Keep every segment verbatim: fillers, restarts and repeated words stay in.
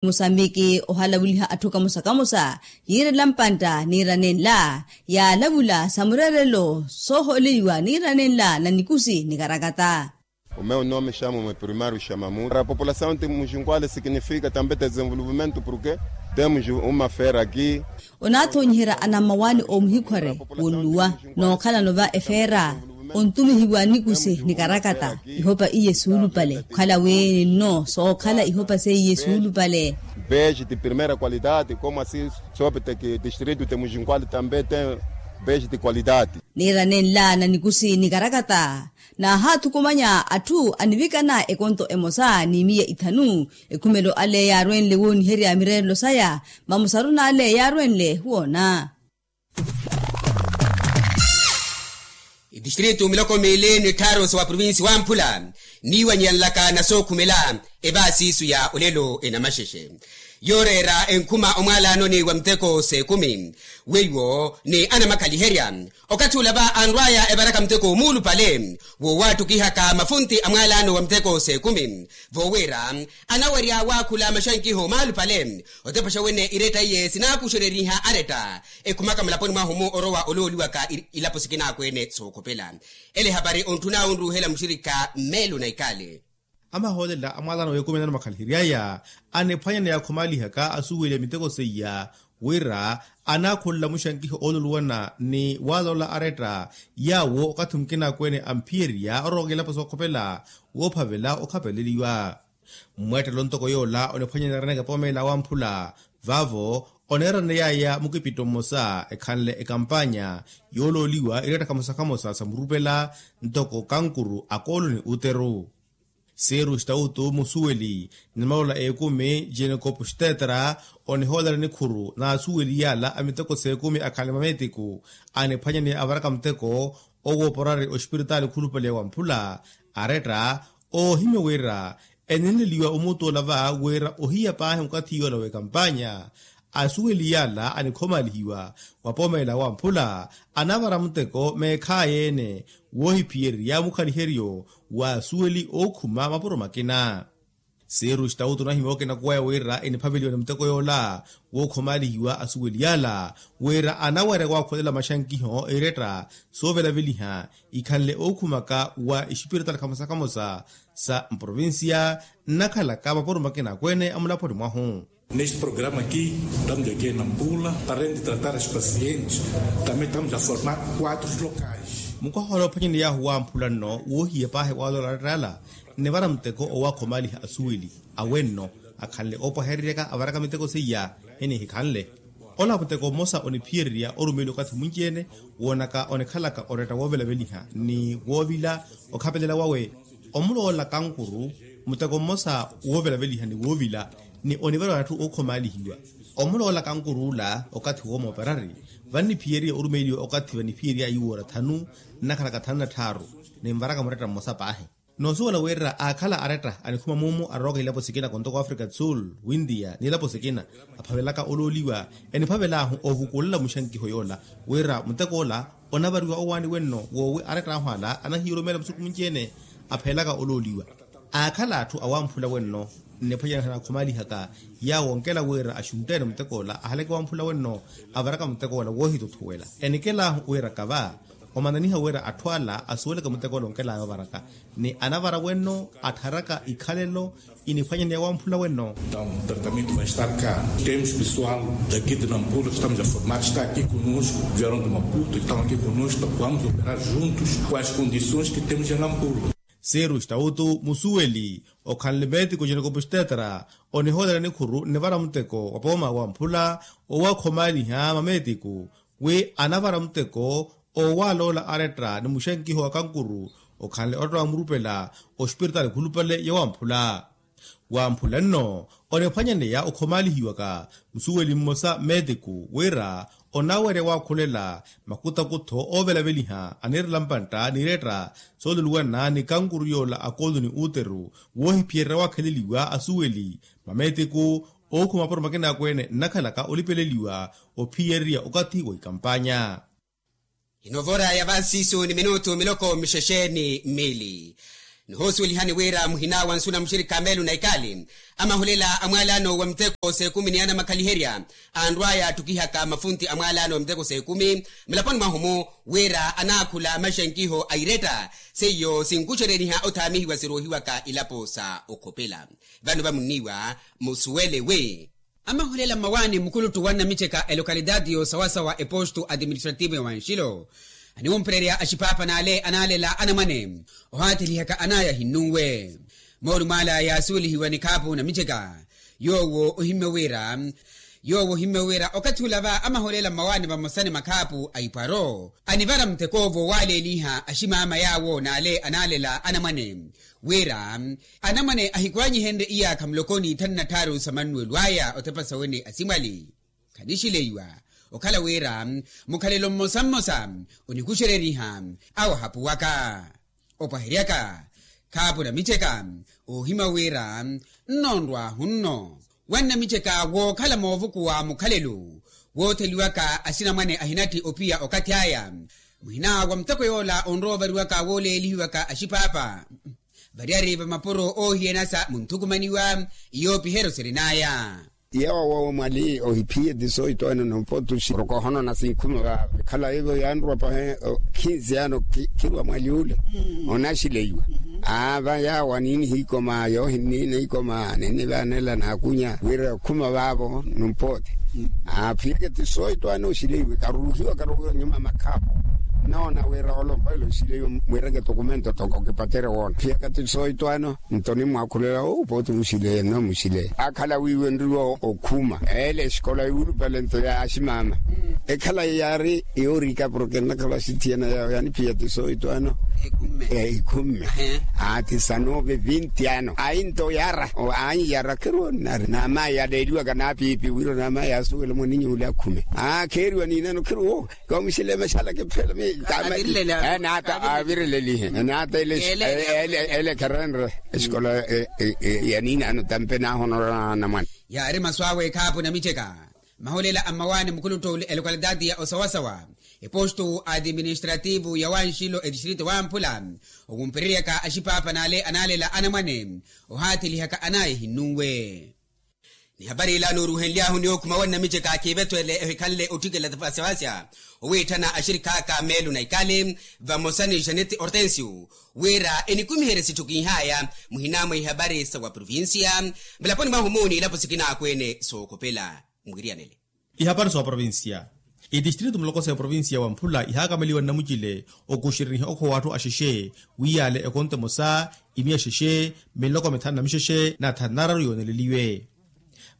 Musambiki ohalaveliha atthu kamosa kamosa yiirela mpantta niira nenla yaalavula sa mureerelo sooholeiwa niira nenla na nikusi nikarakata. O meu nome chamo-me primário chama muta para a população de mujinkwale significa também desenvolvimento porque temos uma feira aqui. Onaathoonyiherya anammawaani oomuhikhware wonluwa nookhalano va efeera ontumihiwa nikusi nikarakata ihopa iye suulupale okhala wi ninno sookhala ihopa seiye suulupale. Beijo de primeira qualidade como assim sobe te que distrito de mujinkwale também tem beijo de qualidade. Niira nenla na nikusi nikarakata naahaathukumanya atthu anivikana ekonto emosa ni miya ithanu ekhumelo ale yaarwenle wooniherya mireerelo saya mamusaru n'ale yaarwenle woona. Itistrito miloko miili ni tthaaru sa wa provinsi wamphula niiwanyeyanlaka na sookhumela evaasi isu ya olelo enamaxexe yooreera enkhuma omwaalaanoni wa muteko s'ekumi weiwo ni anamakhaliherya okathi ula va anrw'aya evaraka muteko muulupale wowaattukihaka mafunti a mwaalaano wa muteko s'ekumi voowira anawerya waakhula maxankiho maalupale otepaxa wene iretta iye sinaakuxereriha aretta ekhumaka mulaponi mwahu-mu orowa olooliwaka ilapo sikina akweene sookhopela ele ehapari ontthuna onruuhela muxirikha mmeelo na ikale. Amahoolela a mwaalaano w'ekumi na namakhalihery'aya aniphwanyaneya akhomaalihaka asuweliya miteko seiya wira anaakhulela muxankiho oololuwana ni waaloola aretta yaawo okathi mukina akweene amphiyerya orowaka ilapo sookhopela woophavela okhapeleliwa. Mweettelo ntoko yoola oniphwanyaneya araneke poomeela wamphula vaavo oneeraney'aya mukipitto mmosa ekhanle ekampanya yoolooliwa ireetta khamosa khamosa sa murupela ntoko kankuru akoolo ni uteru. Siiru stautu musuweli ni maloola ekumi jenekopu stetra onihoolela nikhuru n'asuweli yaala a miteko s'ekumi akhanle mameetiku aniphwanyaneya avaraka muteko owooporari ospiritaali khulupale wamphula aretta oohimya wira enenleliwa omuutu ola va wira ohiya paahi okathi yoola w'ekampanya asuweli yaala anikhomalihiwa wa poomeela wamphula anavara muteko meekhaayi-ene woohiphiyererya mukhaliheryo w'asuweli ookhuma mapuro makina. Siiru stautu onahimya okina kuwaya wira eniphaveliwa ni muteko yoola wookhomalihiwa asuweli yaala wira anawerya waakhulela maxankiho eretta soovelaveliha ikhanle ookhumaka wa ispiritaali khamosa khamosa sa mprovincia nnakhalaka mapuro makina akweene a mulaponi mwahu. Neste programa aqui estamos aqui em nampula para além de tratar as pacientes também estamos a formar quadros locais. Mukwaha ola ophwanyaneyahu wamphula nno woohiya paahi waaloola aretta ala nnivara muteko owaakhomaliha asuweli awenno akhanle oopwahereryaka avaraka miteko seiya enihikhanle. Ola muteko mmosa oniphiyererya orumeliwa okathi mwinci-ene woonaka onikhalaka oretta woovelaveliha ni woovila okhapelela wawe omuloola kankuru muteko mmosa woovelaveliha ni woovila ni onivariwa atthu ookhomalihiwa omuloola kankuru ola okathi woomooperari vanniphiyeriya orumeliwa okathi vaniphiyery'aya iwoora thanu nnakhalaka thanu na tthaaru ninvaraka muretta mmosa paahi. Noosuwela wira aakhala aretta anikhuma muumu arooka ilapo sikina kontoko africa do sul windiya ni ilapo sikina aphavelaka olooliwa eniphavel'ahu ovukulela muxankiho yoola wira muteko ola onavariwa owaani wenno woowi aretta ahu ala anahiirumeela musuku munci-ene aphelaka olooliwa. Aakhala atthu awamphula wenno nniphwanyana nakhumalihaka yaawo onkela wira axuntte-ene muteko ola ahaleke wamphula wenno avaraka muteko ola woohituthuwela enikelahu wira kava omananiha wira atthu ala asuweleke muteko ola onkelaya ovaraka ni anavara wenno attharaka ikhalelo iniphwanyaneya wamphula wenno. Entaw tratamento vai estar ka temos pessoal daqui de nampula que estamos a formar está aqui conosco vieram de maputo e estão aqui conosco vamos operar juntos com as condições que temos em nampula. Seru stautu musuweli okhanle meetiku jenekopu stetra onihoolela nikhuru nnivara muteko wa pooma wamphula owakhomaliha mameetiku wi anavara muteko owaloola aretta ni muxenkiho wa kankuru okhanle oretta wamurupela ospiritaali khulupale ya wamphula. Wamphula nno oniphwanyaneya okhomalihiwaka musuweli mmosa meetiku wira onawerya wakhulela makutakutho ovelaveliha anirela mpantta n'iretta sooluluwana ni kankuru yoola akoolu ni uteru woohiphiyererya wakheleliwa asuweli mameetiku ookhuma mapuro makina akweene nnakhalaka olipeleliwa ophiyererya okathi wa ikampanya. Inovora ya vansisu ni minutu miloko mixexe ni mili. Nihoosuwelihani wira muhina wa nsu na muxirikha meelu na ikali, amahulela a mwalano wa miteko s'ekumi ni anamakhaliherya anrwaya attukihaka mafunti a mwalano wa miteko s'ekumi mulaponi mwahu-mu, wira anaakhula maxankiho a iretta seiyo sinkuxereriha othaamihiwa siruuhiwaka ilapo sa okhopela. Vano vamunniiwa musuwele wi amahulela mmawaani mukuluttu wa nnamiceka elokalitaati y'osawasawa epostu atiministrativu ya wanxilo aniwumpererya axipaapa n'ale anaalela anamwane ohaathilihaka anaya ahinnunwe. Moolumo ala yaasuwelihiwa ni khaapu namiceka yoowo ohimmye wira yoowo ohimmye wira okathi ula va amahulela mmawaani vamosa ni makhaapu a ipwaro anivara mutekoovo waaleeliha aximaama yaawo n'ale anaalela anamwane wira anamwane ahikwaanyihenrye iyaakha muloko n'ithanu na tthaaru sa mannuwelo aya othepa sawe ni asimwali. Khanixileiwa okhala wira mukhalelo mmosa mmosa onikuxereriha awahapuwaka opaheryaka khaapu namiceka oohimya wira nnoonrwahu nno wa nnamiceka wookhala moovukuwa mukhalelo wootheliwaka asinamwane ahinatti ophiya okathi aya muhina wa muteko yoola onrowa ovariwaka wooleelihiwaka axipaapa variyari va mapuro oohiyanasa munthukumaniwa iyoopiheryo sirin'aya. Yawa wawe mwali ohiphiye tisoito eno nompotuxi oroko ohonona sinkhuma va ekhala evo yanrwa pahe khinsi ano khirwa mwali ule onaxileiwa ava yawa niinihiikoma yoohinniina ikoma ninnivanela naakunya wira okhuma vavo nompote aphiyeke tisoito ano oxileiwe karuruhiwa karuruhiwa nyuma makhaapo noona wira olompa ilo oxileiwe mwireke tokumento toko kipatere woona phiyaka tisoito ano nto nimwaakhulela owo pooti muxile no muxile akhala wiiwenreliwa okhuma ele exikola yuulupale nto ya aximaama ekhala yaari yoorika porke nnakhala axithiyana yawe yaniphiya tisoito ano ekhumme aa tisanove vinti ano ayi nto yara ayi yara kheruwo nnari naamaya yaleeliwaka naapiipi wira naamaya yaasuwela mwaninyu ule akhume aa kheeriwa niinano kheruwo kamuxile maxala kiphela mi naata avirilelihe naata ele kherenre exikola ya niinano tampe naahonorana namwana. Yaari masu awe ekhaapu namiceka mahulela a mmawaani mukuluttu a lokalitaati ya osawasawa epostu atiministrativu ya wanxilo etistrito wamphula okumpereryaka axipaapa n'ale anaalela anamwane ohaathelihaka anaya ehinnunwe. Ni hapari ila nooruhenly'ahu ni okhuma wa nnamiceka kiivetwele ehikhanle otthikela tafasivasya owiitthana axirikh'aka meelu na ikali vamosa ni xaneti hortensio wira enikumiherye sitthu kinhaya muhina mwa ihapari sa wa provincia mulaponi mwahu-mu n'ilapo sikinaakwene sookhopela mwiriyanele. Ihapari sa wa provincia itistrito muloko sa eprovincia wa mphula ihaakameliwa nnamucile okuxereniha okhowa atthu axexe wiyaale ekonto emosa imiya xexe miloko mithanu na mixexe na thanu nararu yooneleliwe.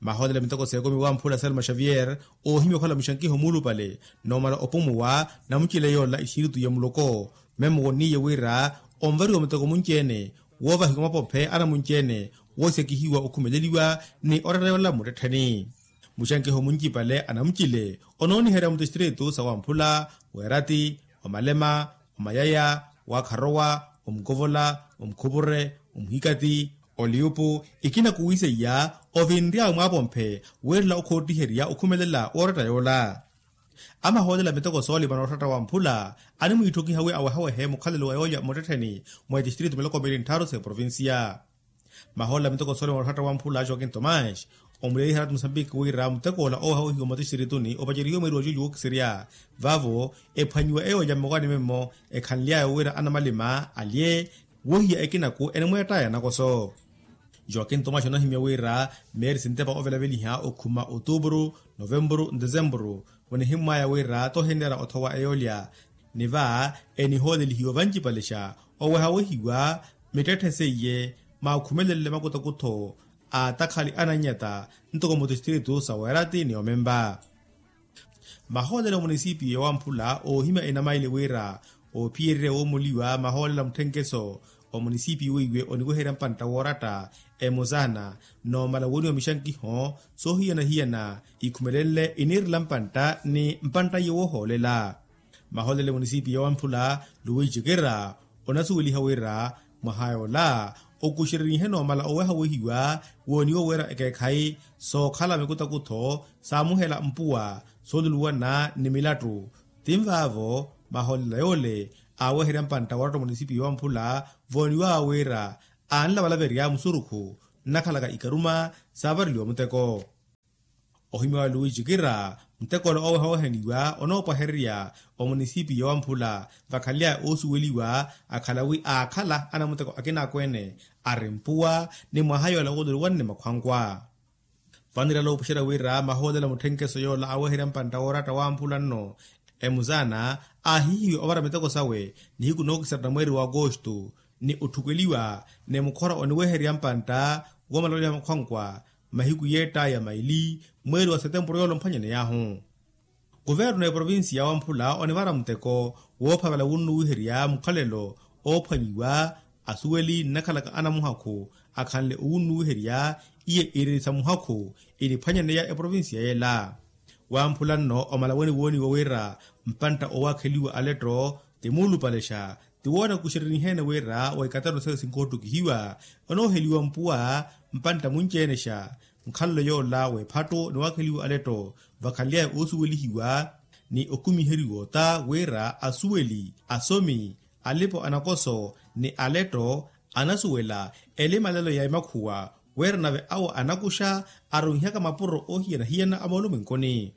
Mahoolelo a miteko s'ekumi wamphula selma xavier oohimya okhala muxankiho muulupale noomala opumuwa namucile yoola ispiritu ya muloko memo wonniiye wira onvariwa muteko munci-ene woovahiwa mapophe anamunci-ene woosekihiwa okhumeleliwa ni oratta yoola mmuttettheni. Muxankiho muncipale anamucile onooniherya mutistritu sa wamphula, weerati, omalema, omayaya, waakharowa, omukovola, omukhupure, omuhikati, oliupu ikina kuwiiseiya ovinry'awe mwaapomphe wiirela okhoottiherya okhumelela wooratta yoola. Amahoolela miteko soolima nooratta wamphula animwiitthukiha wi awehawehe mukhalelo wa yoolya mmuttettheni mwa itistritu miloko miili nttharu s'eprovincia. Mahoolela miteko soolima nooratta wamphula joaquin tomás omuleeliha ratta musambiki wira muteko ola owehawehiwa mutistrituni opacerihiwe mweeri wa juju wookisirya vaavo ephwanyiwa eyoolya mmokwani memmo ekhanly'aya wira anamalima alye wohiya ekinaku enimweett'aya nakoso. Joaquin tomás onahimya wira meeri sintepa ovelaveliha okhuma otuupuru novempuru ndesempuru onihimmw'aya wira tohinneera othowa eyoolya ni va enihoolelihiwa vancipalexa owehawehiwa mittetthe seiye maakhumelelle makuthokutho a takhali anannyata ntoko mutistritu sa weerati ni omempa. Mahoolelo munisipiyo wamphula oohimya enamaili wira oophiyererya woomoliwa mahoolelo a mutthenkeso omunisipiyo weiwe oniweherya mpantta wooratta emosana noomala wooniwa mixankiho soohiyana-hiyana ikhumelenle iniirela mpantta ni mpantta iye woohoolela. Mahoolelo munisipiyo wamphula luwiji kira onasuweliha wira mwaha yoola okuxererihe noomala owehawehiwa wooniwa wira ekeekhayi sookhala mikutakutho saamuhela mpuwa sooluluwana ni milattu. Tinvaavo mahoolela yoole aaweherya mpantta wooratta omunisipiyo wa mphula vooniwaawe wira aanlavalaverya musurukhu nnakhalaka ikaruma saavareliwa muteko. Ohimya wa luwiji kira mutek'ola oowehawehaniwa onoopwahererya omunisipiyo wa mphula vakhaly'aya oosuweliwa akhala wi aakhala anamuteko akina akweene ari mpuwa ni mwaha yoola wooloriwa nne makhwankwa. Vanirala opuxerya wira mahoolela mutthenkeso yoola aweherya mpantta wooratta wa mphula nno emuzaana aahihiwe ovara miteko sawe nihiku nookisarana mweeri wa akosto ni otthukeliwa ni mukhora oniweherya mpantta woomalaweliha makhwankwa mahiku yeett'aya maili mweeri wa setempuru yoola omphwanyaney'ahu. Kuvernu eprovinsiya wa mphula onivara muteko woophavela wunnuwiherya mukhalelo oophwanyiwa asuweli nnakhalaka anamuhakhu akhanle owunnuwiherya iye iri sa muhakhu iniphwanyaneya eprovinsiya yela. Wa mphula nno omala woniwooniwa wira mpantta owaakheliwa aletto ti muulupalexa ti woonakuxereriheene wira wa ikatano sayo sinkoottukihiwa onooheliwa mpuwa mpantta munci-enexa nkhalelo yoola w'ephattu ni waakheliwa aletto vakhaly'aya oosuwelihiwa ni okumiheriwa ota wira asuweli asomi alipo anakoso ni aletto anasuwela elimalelo ya emakhuwa wira nave awo anakuxa arunhiyaka mapuro oohiyana-hiyana a moolumwenkuni.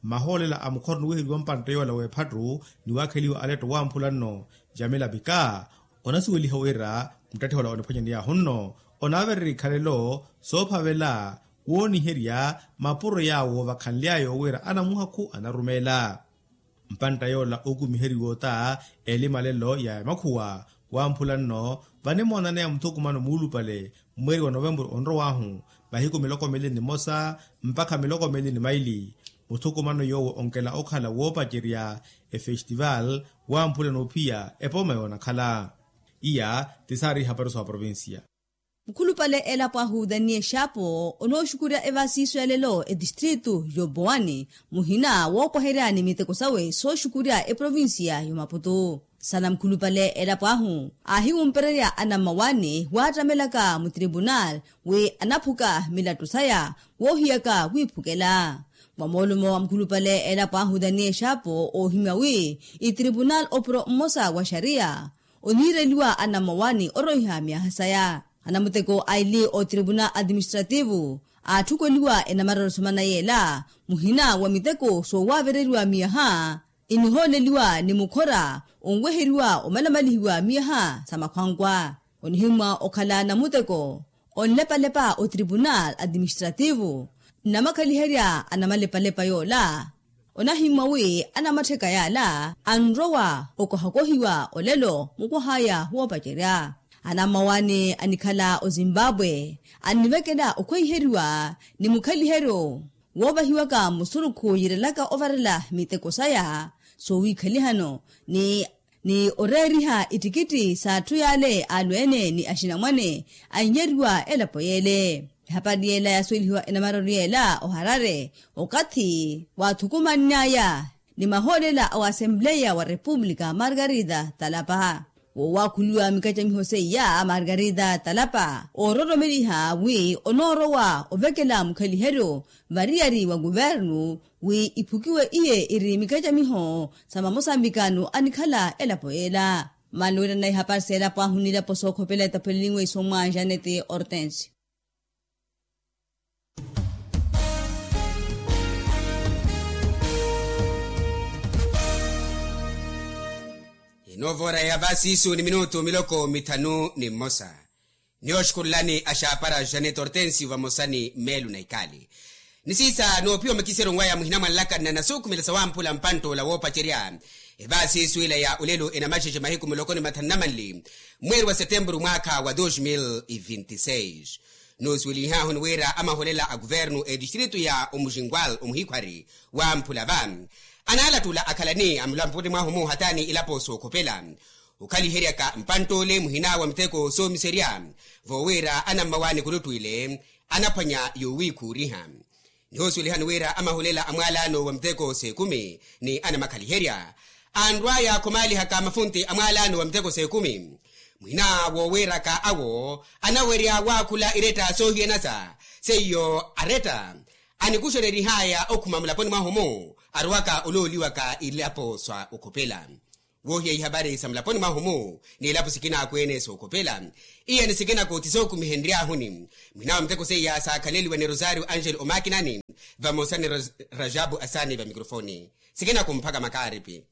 Mahoolela a mukhora oniweheriwa mpantta yoola w'ephattu ni waakheliwa aletto wa mphula nno jamila pika onasuweliha wira muttatthi ola oniphwanyaney'ahu nno onaavererya ikhalelo soophavela wooniherya mapuro yaawo vakhanly'ayo wira anamuhakhu anarumeela. Mpantta yoola ookumiheriwa ota elimalelo ya emakhuwa wa mphula nno vanimoonaneya muthukumano muulupale mweeri wa novempuru onrow'ahu mahiku miloko miili ni mmosa mpakha miloko miili ni maili. Muthukumano yoowo onkela okhala woopacerya efestival wa mphula n'ophiya epooma yoonakhala. Iya ti saari ihapari sa oprovinsiya. Mukhulupale elapo ahu daniel xapo onooxukurya evaasiiso ya lelo etistritu yoboani muhina woopwaherya ni miteko sawe sooxukurya eprovinsiya y'omaputu. Sana mukhulupale elapo ahu aahiwumpererya anammawaani waattamelaka mutripunal wi anaphuka milattu saya woohiyaka wiiphukela. Mwa moolumo wa mukhulupale elapo ahu daniel xapo oohimya wi itripunal opuro mmosa wa xariya oniireliwa anammawaani oroiha myaha saya. Anamuteko aili otripunal atiministrativu aatthukweliwa enamarero somana yeela muhina wa miteko soowaavereriwa miyaha inihooleliwa ni mukhora onweheriwa omalamalihiwa miyaha sa makhwankwa. Onihimmwa okhala namuteko onlepalepa otripunal atiministrativu nnamakhaliherya anamalepalepa yoola. Onahimmwa wi anamattheka yaala anrowa okohakohiwa olelo mukwah'aya woopacerya. Anammawaani anikhala ozimbabwe annivekela okhweiheriwa ni mukhaliheryo woovahiwaka musurukhu yiirelaka ovarela miteko saya soowikhalihano ni ni oreeriha ittikitti s'atthu yaale alweene ni axinamwane annyeriwa elapo yeele. Ehapari yeela yaasuwelihiwa enamarero yeela oharare okathi waathukumann'aya ni mahoolela a waasempleya wa repupulika margarita talapa. Woowakhuliwa mikacamiho seiya margarita talapa oororomeliha wi onoorowa ovekela mukhaliheryo variyari wa kuvernu wi iphukiwe iye iri mikacamiho sa mamosambikano anikhala elapo yeela. Mano wira nnayi hapari s'elapo ahu n'ilapo sookhopela etapwelilinwe isommwa janet hortense. Inoovora ya vasiisu ni minutu miloko mithanu ni mmosa. Niyooxukurulani axaapara janet hortensio vamosa ni meelu na ikali. Nisiisa noophiwa makisero nwaya muhina mwanlaka nnanasuukhumela sawamphula mpantt'ola woopacerya evaasiisu ila ya olelo enamaxexe mahiku miloko ni mathanu na manli mweeri wa setempuru mwaakha wa dos mil e vinti seis. Noosuwelihahu ni wira amaholela a kuvernu etistritu ya omuxinkwal omuhikhwari wamphula va anaalattula akhalani amulampuni mwahu muhatani ilapo sookhopela okhaliheryaka mpantt'ole muhina wa miteko soomiserya voowira anammawaani kuluttwile anaphwanya yoowiikhuuriha. Nihoosuwelihani wira amahulela a mwaalaano wa miteko s'ekumi ni anamakhaliherya anrw'aya khomaalihaka mafunti a mwaalaano wa miteko s'ekumi muhina woowiiraka awo anawerya waakhula iretta soohiyanasa seiyo aretta anikuxererih'aya okhuma mulaponi mwahu-mu arowaka olooliwaka ilapo sa okhopela. Woohiya ihapari sa mulaponi mwahu-mu n'ilapo sikina akweene sookhopela. Iyani sikina koothi sookumihenryahuni. Mwinawe muteko seiya saakhaleliwa ni rosario angelo omakinani, vamosa ni rajabu asani vamikrofoni. Sikina kumphaka makaaripi.